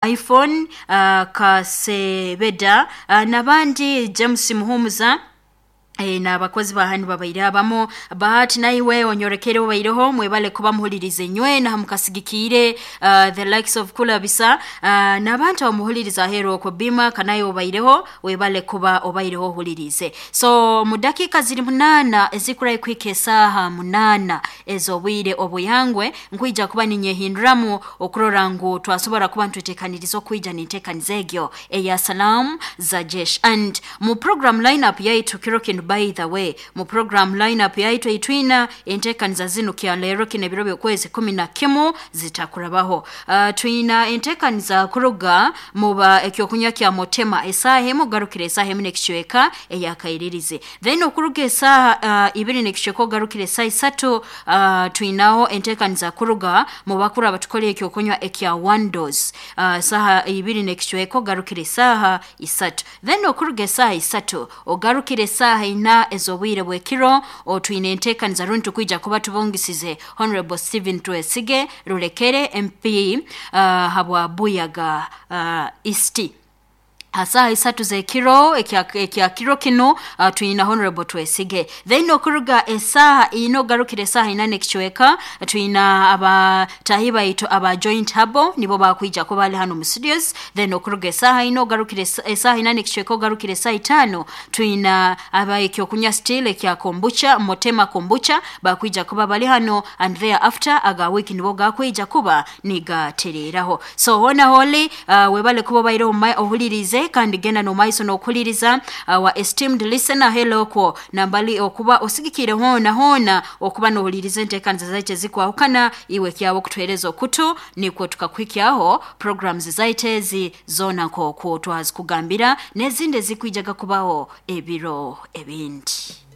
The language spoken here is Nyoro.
iPhone Kasebeda n'abandi James Muhumuza n'abakozi ba hanu babaire abamu. Bahati naiwe onyorekere obaireho, mwebale kuba muhulirize nywena mukasigikiire the likes of Kulabisa n'abantu abamuhuliriza aheeru okwo Bima kanaye obaireho, webale kuba obaireho ohulirize. So mu dakiika ziri 8 ezikurayo kuhika esaaha 8 ez'obwire obuyangwe, nkwija kuba ninyehinduramu okurora ngu twasobora kuba nitweteekaniriza okwija n'enteekaniza egyo eya Salaam za Jesh. And mu program lineup yaitu kiro kinu, by the way, mu program lineup yaitu eitwina enteekaniza zinu kya leero kino ebiro by'okwezi 11 zitakurabaho. Twina enteekaniza kuruga muba ekyokunywa kya Motema esaaha 1 ogarukire esaaha 1 n'ekicweka eyakairirize. Then okuruga esaaha 2 n'ekicweka ogarukire esaaha 3, twinaho enteekaniza kuruga mu bakuru abatukora ekyokunywa ekya One Dose. Esaaha 2 n'ekicweka ogarukire esaaha 3. Then okuruga esaaha 3 ogarukire esaaha 4 ez'obwire bw'ekiro, otwine enteekaniza rundi tukwija kuba tubungisize Honorable Stephen Twesige Rulekere MP habwa Buyaga East. Asaha 3 z'ekiro ekya kiro kinu, twina Honorable Twesige. Then okuruga esaaha 4 ogarukire esaaha 4 n'ekicweka, twina abatahi baitu aba Joint Habo nibo bakwija kuba bali hano mu studios. Then okuruga esaaha 4 ogarukire esaaha 4 n'ekicweka ogarukire esaaha 5, twina aba ekyokunywa still ekya kombucha, Motema kombucha, bakwija kuba bali hano, and thereafter aga wiki nibo gakwija kuba nigatereraho. So hona holi, webale kuba obaire ohulirize, kandi genda n'omaiso n'okuhuliriza our esteemed listener. Hello kwo nambali okuba osigikire hoona hoona okuba n'ohuliriza enteekaniza zaitu ezikwahukana, iwe kyawe okutuheereza okutu nikwo tukakuhikyaho programs zaitu ezi zoona nk'oku twazikugambira n'ezindi ezikwijaga kubaho ebiro ebindi.